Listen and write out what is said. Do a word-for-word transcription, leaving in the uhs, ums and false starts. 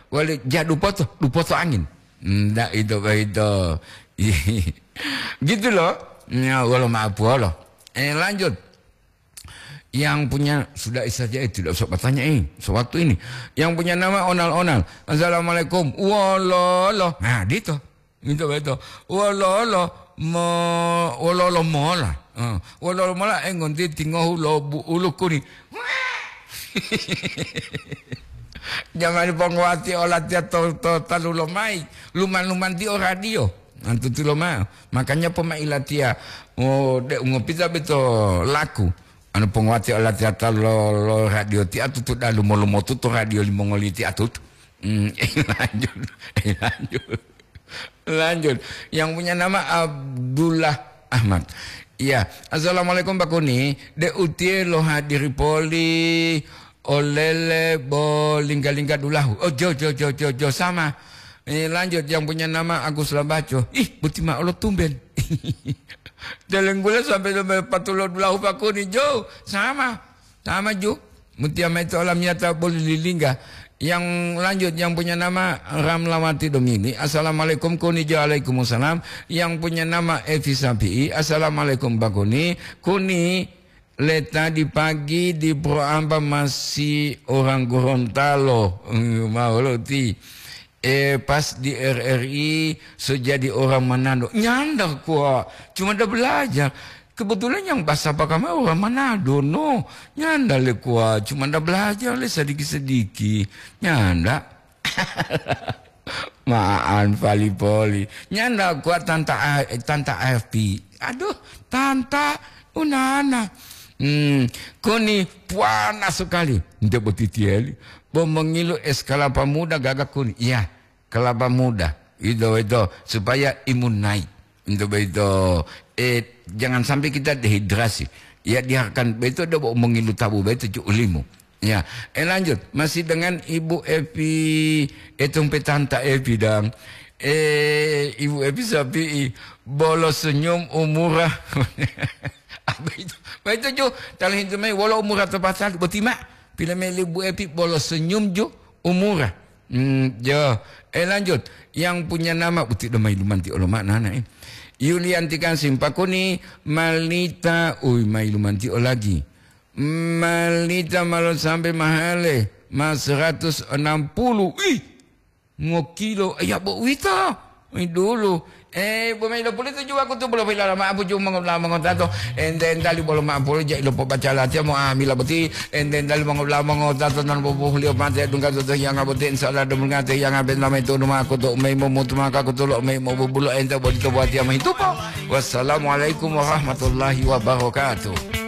Wali ja dupoto, dupoto angin. Ndak itu begitu. Gitu loh. Ya, wolo maaf wolo. Eh, lanjut. Yang punya, sudah saja itu, tidak usah bertanya, eh, sewaktu ini. Yang punya nama Onal-Onal. "Assalamualaikum." "Wololo." Nah, gitu. Gitu begitu. "Wololo mo-, wololo mola." Eh, "wololo mola, eh, ngonti tingohu lo bu-, ulu kuni." Jamani pongowati olatiya to, to talu lomai, luman-luman tiyo radio. Antuti lomao. Makanya poma ilatiya, oh, de ungopita beto laku. Anu pongowati olatiya talu lo, lo radio ti atutu dalu molumotu to radio limongoli ti atutu. Hmm, lanjut. Lanjut. Yang punya nama Abdullah Ahmad. Iya. "Assalamualaikum, Pak Kuni. De utiye lo hadiri poli olele bo lingga-lingga dulahu." Oh, jo, jo, jo, jo, jo, sama. Eh, lanjut, yang punya nama Agus Lambaco. Ih, buti ma'o lo tumben. Delenggula sampai, sampai patulo dulahu, Pak Kuni. Jo, sama. Sama, ju. Mutia maito olamiyata boli lilingga. Yang lanjut, yang punya nama Ramlawati Domili. "Assalamualaikum, Kuni." "Waalaikumsalam." Yang punya nama Evi Sapi'i. "Assalamualaikum, Pak Kuni." "Kuni, le tadi pagi di Pro Amba masih orang Gorontalo." Hmm, mau lo ti. Eh, pas di R R I, so jadi orang Manado. Nyanda kuwa, cuma ada belajar. Kebetulan yang bahasa Bakamai orang Manado, no. Nyanda le kuwa, cuma ada belajar le sedikit-sedikit. Nyanda. Ma'an pali-poli. Nyanda kuwa tanta A-, tanta A F P. Aduh, tanta unana. Hmm, koni puana sekali. Nde botitieli. Bo mengilu es kelapa muda gaga kuni. Iya, kelapa muda. Itu, itu. Supaya imun naik. Untuk begitu, eh, jangan sampai kita dehidrasi. Ya, diharapkan begitu ada mau mengilu tabu begitu cu limu. Ya, eh, lanjut. Masih dengan Ibu Evi, eh, tumpe Tanta Evi dang. Eh, Ibu Evi Sapi'i, bolo senyum umura. Apa itu? Apa itu, cu? Tali hintu mai, wolo umura to pasal, boti ma. Pila meli Ibu Evi, bolo senyum ju umura. Hmm, jo. Eh, lanjut. Yang punya nama, uti do mailumanti olo maknana, eh. Yulianti kan simpakuni, malita, ui, mailumanti o lagi. Malita malo sampai mahale, ma seratus enam puluh. Ih, ngokilo, ya bo uwito. Ui, dulu. Eh, bo mai lopulito juwa kutu bolo pila lama apu ju mongo-, la mongotato. Ente entali bolo ma polo ja ilo pobaca latiya mo amila boti. Ente entali mongo-, la mongotato nan bobohuliyo mate dungga toto hiyanga boti. Insya Allah dum ngate hiyanga ben lama itu numa kutu umai momutu maka kutu lo umai mobubulo ente bodito buatiya mahitupo. Wassalamualaikum warahmatullahi wabarakatuh.